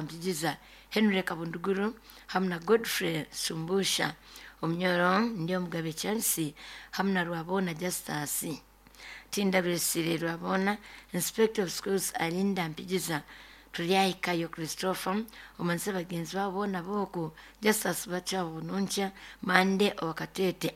Kampigiza, Henry Kabunduguru hamu na Godfrey Sumbusha. Omunyoro ndi Omugabe Charles hamu na Rwabona Justus. Tindabiresire Rwabona, Inspector of Schools Alinda Mpigiza, Tulyahikayo Christopher, omanse bagenzi babo boona boku Justus Bachawo Bununkya, Mande Owakatete.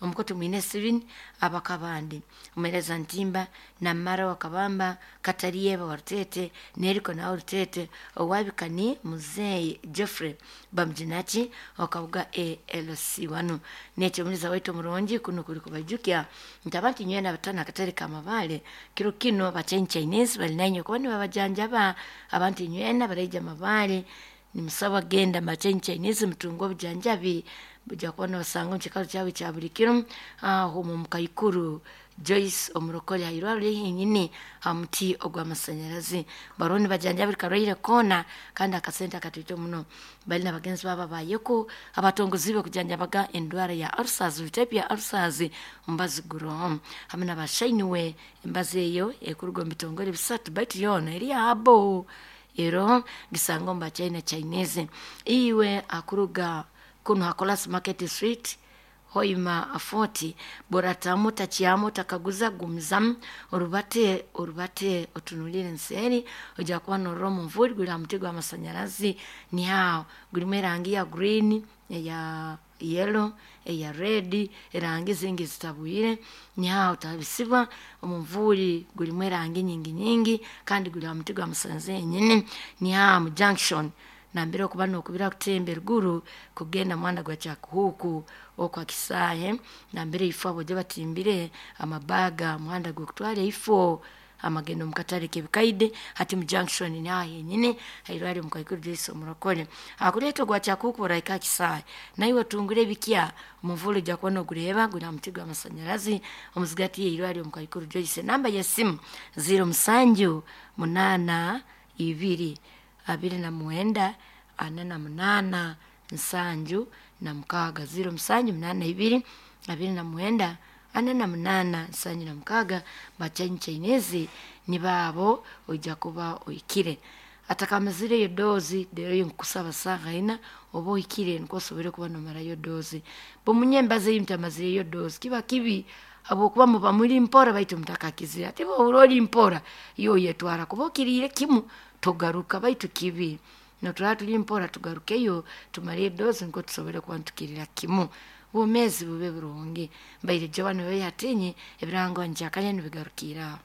Omukoto mwine Steven abakabandi omuhereza Ntimba Namara Wakabamba Katariyeba wa Rutete Neriko nawe Rutete owabikani Muzeyi Geoffrey Bamujinaki okabuga ALC wanu nekyo omuliza waitu omurungi kuno kuli kubajukya nti abantu nywena abatana akatare kamabale kiro kino bachenyi Chinese bali nanywe kuba nibabajanjaba abantu nywena baraija mabale nimusaba genda machenyi Chinese mutunga obujanjabi buja kuba nobasanga omu kiikaro kyawe kya buli kiro aho omu Mukaikuru Joyce omurokore hairwariro henyini ha muti ogw'amasanyarazi bariho nibajanjaba buri karwaire koona kandi akasente akatoito muno. Bali na bagenzi babo abayeko abatongoziibwe kujanjabaga endwara ya ulcers, type ya ulcers omubazi guroho hamwe na bashainiwe embazi eyo ekuruga omu bitongore bisatu baitu yoona eri abo ero gisanga omu bachina Chinese. Iwe akuruga kuno hakolas Market Street Hoima 40 boratamu takyamu takaguza gumizamu orubate orubate otunulire enseri ojja kuba norora omunvuri guri aha muti gw'amasanyarazi nihaho gurimu erangi ya green, eya yellow, eya red, erangi zingi zitabwire nihaho otabisibwa omunvuri gurimu erangi nyingi nyingi kandi guri aha muti gw'amasanyarazi henyini nihaha mu junction nambere okuba nokubira kutemba eruguru kugenda muhanda gwa Kyakuhuku okwa Kisaahe nambere ifo abojo batimbire amabaga muhanda gw'okutwara ifo amagendo omu katare k'ebikaide hati mu junction nihaha henyini hairwariro Mukaikuru Joyce omurokore akureeta ogwa Kyakuhuku orahika aha Kisaahe naiwe otungure ebikya omunvuri ojja kuba nogureeba guri aha muti gw'amasanyarazi omuzigati y'eirwariro Mukaikuru Joyce. Namba y'esimu 07 8 2 29 48 76 07 82 29 48 76 bachenyi Chinese nibaabo oija kuba ohikire atakamazire dozi rero nkusaba saaha ina oba ohikire nikwo osobore kuba nomarayo dozi bomunye embazi ei mutamazireyo dozi kiba kibi habwokuba muba muri mpora baitu mutakakizire ate bwohura ori mpora iwe oyetwara kuba okiriire kimu togaruka baitu kibi noturaba turi mpora tugarukeyo tumare edozi nikwo tusobore kuba nitukirira kimu obwomeezi bube burungi mbaire Joan Weyatinyi ebirango nkyakanya nibigarukira aho.